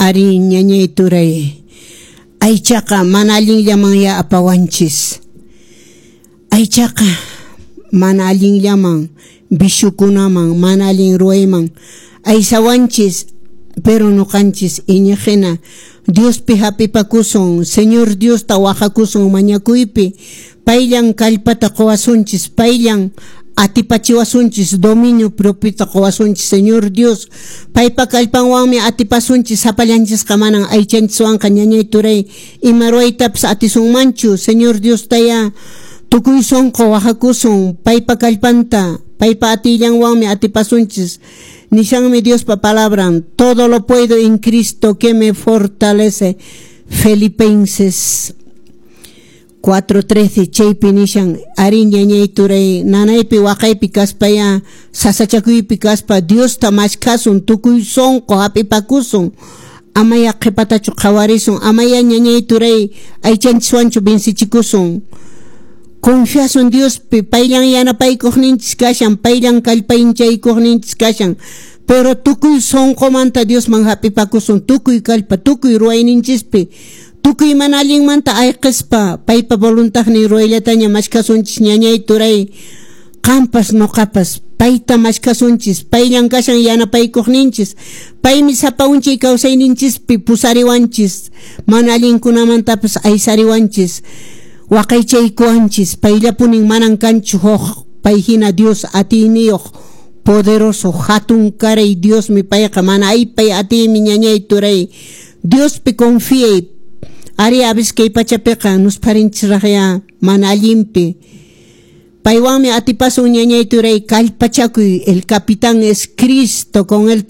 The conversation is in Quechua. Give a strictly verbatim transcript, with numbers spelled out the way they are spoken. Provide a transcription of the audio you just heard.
Ari, ñañay turay, aychaqa mana allinllaman apawanchis. Aychaqa mana allinllaman, viciokunaman, mana allin ruwayman aysawanchis, pero nuqanchis iñiqhina Diospi hapipakusun, Señor Diosta wahakusun mañakuypi, payllan kallpata quwasunchis, payllan atipachiwasunchis, dominio propiota quwasunchis, Señor Dios. Paypa kallpanwanmi atipasunchis, sapallanchisqa manan aychanchiswanqa, ñañay turay, ima ruwaytapas atisunmanchu. Señor Diostaya tukuy sunqu wahakusun, paypa kallpanta, paypa atillanwanmi atipasunchis. Nishanmi Diospa palabran: "Todo lo puedo en Cristo que me fortalece". Filipenses cuatro trece chaypi nishan. Ari, ñañay turay, nanaypi waqaypi kaspaya, sasachakuypi kaspa, Diosta mashkhasun, tukuy sunqu hap'ipakusun, amaya qhipatachu qhawarisun, amaya, ñañay turay, aychanchiswanchu vencichikusun. Confiasun Diospi, payllan yanapaykuqninchis kashan, payllan kallpaychaykuqninchis kashan, pero tukuy sunqumanta Diosman hap'ipakusun, tukuy kallpa, tukuy ruwayninchispi, tukuy mana allinmanta ayqispa, paypa voluntadnin ruwayllataña mashkasunchis, ñañay turay. Qampas nuqapas payta mashkasunchis, payllan kashan yanapaykuqninchis, paymi sapa unchay kawsayninchispi pusariwanchis, mana allinkunamantapas aysariwanchis, waqaychaykuwanchis. Payllapunin, manan kanchu huk pay hina Dios atiyniyuq, poderoso, hatun karay Diosmi payqa, mana aypay atiymi, ñañay turay. Diospi confiay. Ari, a veces kay pachapiqa nuspharinchis mana allinpi, paywanmi atipasun, ñañay turay, kallpachakuy. El capitán es Cristo, con él todo.